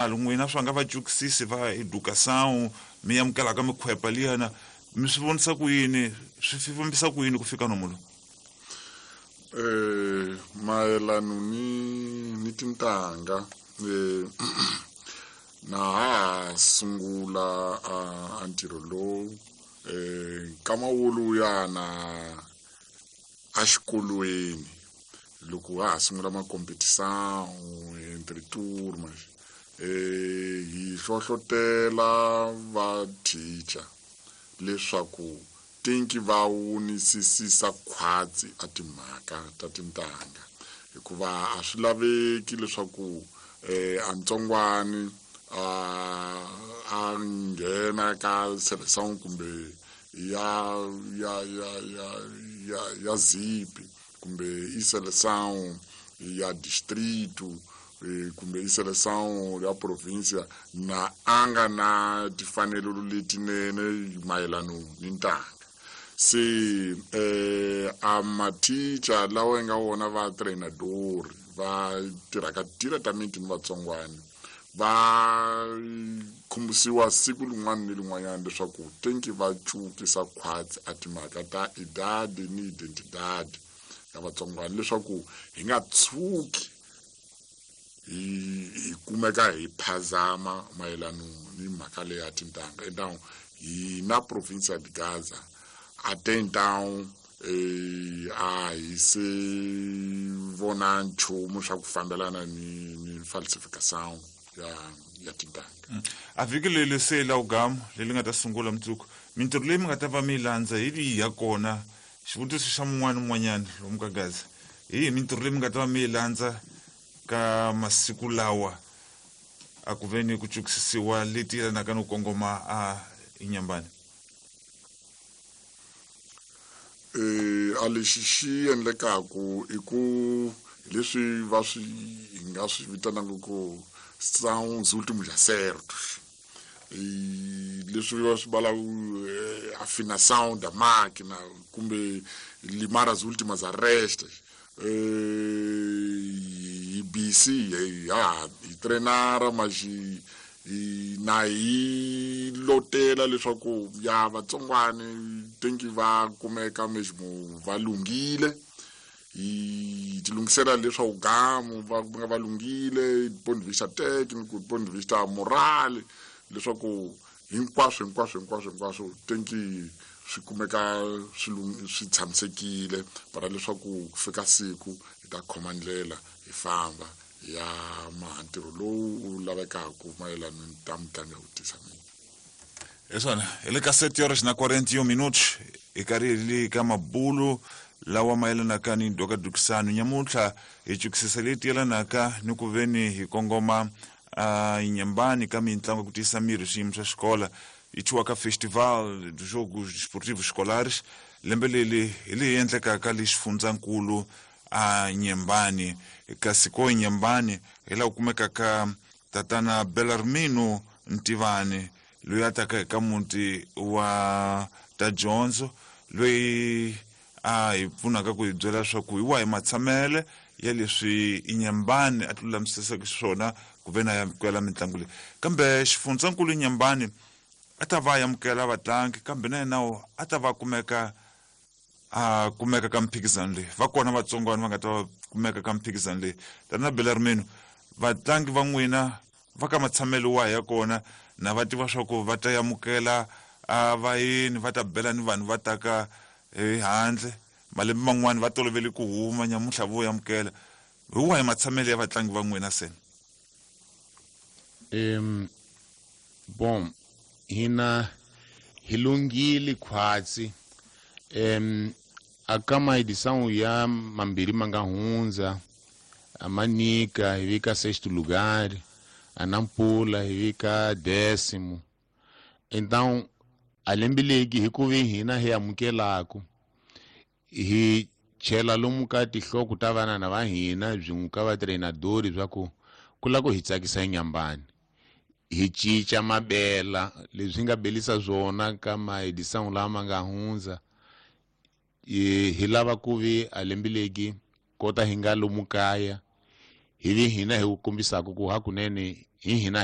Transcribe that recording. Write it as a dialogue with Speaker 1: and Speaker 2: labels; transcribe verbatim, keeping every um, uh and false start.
Speaker 1: N'wina swa nga vacukisisi va educação mi amukelaka mikhwepa liyana, mi swi vonisa ku yini, swi fambisa ku yini ku fika nomu lowu?
Speaker 2: eh mayelano ni ni tintangha, eh na ha sungula a ntirho lowu eh nkama woluyana exikolweni loko ha ha sungula makompetição entre turmas, eh hi hlohlotela va teacher leswaku tinki va wunisisisa khwatsi a timhaka ta tintangha, hikuva a swi laveki leswaku eh a ntsongwani a a nghena ka seleção kumbe ya ya ya ya ya ya zipi kumbe i seleção ya distrito kumbe i seleção ya província na a nga na timfanelo letinene mayelano ni ntanga. Se eh a mathicha lawa yi nga wona va treinador va tirhaka diretamente ni vatsongwana va khumbisiwa siku rin'wana ni rin'wanyana leswaku tenki va cukisa khwatsi a timhaka ta idade ni identidade ya vatsongwana, leswaku hi nga tshuki hi hi kumeka hi phazama mayelano ni mhaka leyi ya tintangha. Então hi na província de Gaza até então eh a hi se vona nchumu swa ku fambelana ni ni falsificação ya ya tintangha.
Speaker 1: A vhiki leri se la ugamu leri nga ta sungula mundzuku, mintirho leyi mi nga ta va mi yi landza hi yihi ya kona? Xivutiso xa mun'wana un'wanyana lomu ka Gaza, hi yihi mintirho leyi mi nga ta va mi yi landza ka masiku lawa a ku ve ni ku cukisisiwa leti yelanaka no kongoma a Inyambani?
Speaker 2: Eh a lexi xi endlekaku i ku leswi va swi hi nga swi vitanaka ku são os últimos acertos, leswi va swi valaka afinação da máquina kumbe limar as últimas arestas. Hi busy ha hi trainara mas hi na hi lotela leswaku ya vatsongwani tenki va kumeka mesmo va lunghile, hi ti lunghisela leswaku gamu va nga va lunghile ponto de vista técnico, ponto de vista moral, leswaku hinkwaswo hinkwaswo hinkwaswo hinkwaswo tenki swi kumeka swi swi tshamisekile para leswaku ku fika siku hi ta khoma ndlela hi famba ya maha ntirho lowu wu lavekaka mayelana ni ta mitlangu ya ku tisa miri.
Speaker 1: Hi swona, hi le ka sete horas na quarenta e um minutos, hi karhi hi le ka mabulu lawa mayelanaka ni ndhokadukisano. Nyamuntlha hi cukisisa leti yelanaka ni ku veni hi kongoma a Inyambani ka mitlangu ya ku tiyisa miri swiyimo swa xikola yi thyiwaka Festival dos Jogos Desportivos Escolares. Lembe leri hi leyi endlekaka le xifundzankulu a Nyembani, kasi ko Nyembani hi laha ku kumekaka tatana Belarmino Ntivani loyi a taka eka muti wa ta dyondzo, loyi a hi pfunaka ku hi byela leswaku hi wahi matshamele ya leswi Inyambani a ti lulamisiseke xiswona ku ve na amukela mitlangu leyi. Kambe xifundzankulu Inyambani a ta va amukela vatlangi, kambe na yena a ta va kumeka a kumeka ka mphikizano leyi. Va kona vatsongwana va nga ta va kumeka ka mphikizano leyi. Tana Belarmino, vatlangi va n'wina va ka matshamelo wahi ya kona na va tiva swa ku va ta amukela a vayeni, va ta bela ni vanhu va taka hi handle, malembe man'wani va tolovele ku huma, nyamuntlha vo amukela. Hi wahi matshamelo ya vatlangi va n'wina se?
Speaker 3: Um bom, hina hi lunghile khwatsi. Um aka maedição ya mambirhi ma nga hundza, a Manica hi vika sexto lugar, a Nampula hi vika décimo. Então a lembe legi hi ku vi hina hi amukelaku hi chela lomu ka tinhloko ta vanana va hina byin'we ka vatreinadori swa ku ku lava ku hi tsakisa Inyambani, hi cinca mabela leswi nga belisa swona ka maedição lama nga hundza. Hi lava ku vi a lembe legi kota hi nga lomu kaya hi vi hina hi ku kombisaka ku hakunene hi hina